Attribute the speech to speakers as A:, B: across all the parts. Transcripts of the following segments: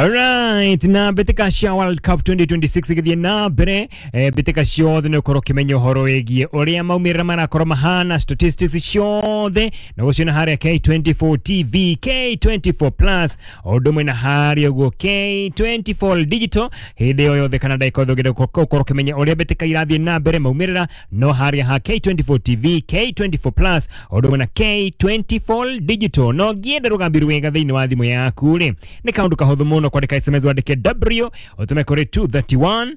A: Alright, na mbĩtĩka cia World Cup 2026 igĩthiĩ na mbere, mbĩtĩka ciothe nĩ ũkorwo ũkĩmenya ũhoro wĩgiĩ ũrĩa maumĩrĩra marakorwo mahana, statistics ciothe na gũciona harĩa K24 TV, K24 Plus, o ũndũ ũmwe na harĩa ũguo K24 Digital. Hĩndĩ o yothe kana ndagĩka yothe ũngĩenda gũkorwo ũkĩmenya ũrĩa mbĩtĩka irathiĩ na mbere, maumĩrĩra no harĩa ha K24 TV, K24 Plus, o ũndũ ũmwe na K24 Digital. No ngĩenda rũgambi rwega thĩinĩ wa thimũ yaku rĩ, nĩ kaũndũ kahũthũ mũno kwandĩka SMS, wandĩke W ũtũme kũrĩ 231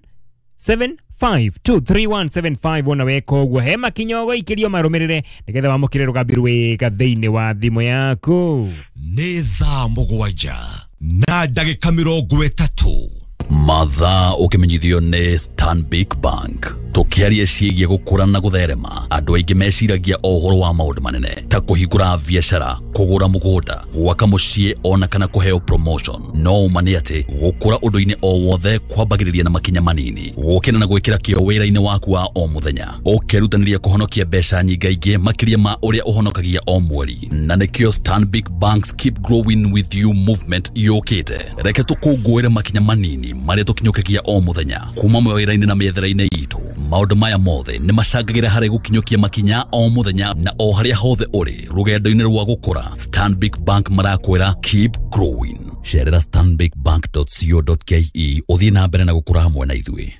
A: 75 23175. Wona weka ũguo, he makinya ũgũikĩrio marũmĩrĩre nĩgetha wamũkĩre rũgambi rwega thĩinĩ wa thimũ yaku.
B: Nĩ thaa 7:30.
C: Mathaa ũkĩmenyithio nĩ Stanbic Bank. Tũkĩaria ciĩgiĩ gũkũra na gũtherema, andũ aingĩ meciragia o ũhoro wa maũndũ manene ta kũhingũra biacara, kũgũra mũgũnda, gwaka mũciĩ ona kana kũheo promotion. No ũma nĩ atĩ gũkũra ũndũ-inĩ o wothe kwambagĩrĩria na makinya manini, gũkĩra na gwĩkĩra kĩo wĩra-inĩ waku wa o mũthenya, ũkerutanĩria kũhonokia mbeca nyingaingĩ makĩria ma ũrĩa ũhonokagia o mweri. Na nĩkĩo Stanbic Bank's Keep Growing With You movement yũkĩte. Reke tũkũngũĩre makinya manini marĩa tũkinyũkagia o mũthenya kuma mawĩra-inĩ na mĩethere-inĩ itũ. Maũndũ maya mothe nĩ macangagĩra harĩ gũkinyũkia makinya o mũthenya na o harĩa hothe ũrĩ rũgendo-inĩ rwa gũkũra. Stanbic Bank marakwĩra, "Keep growing." Cerera stanbicbank.co.ke ũthiĩ na mbere na gũkũra hamwe na ithuĩ.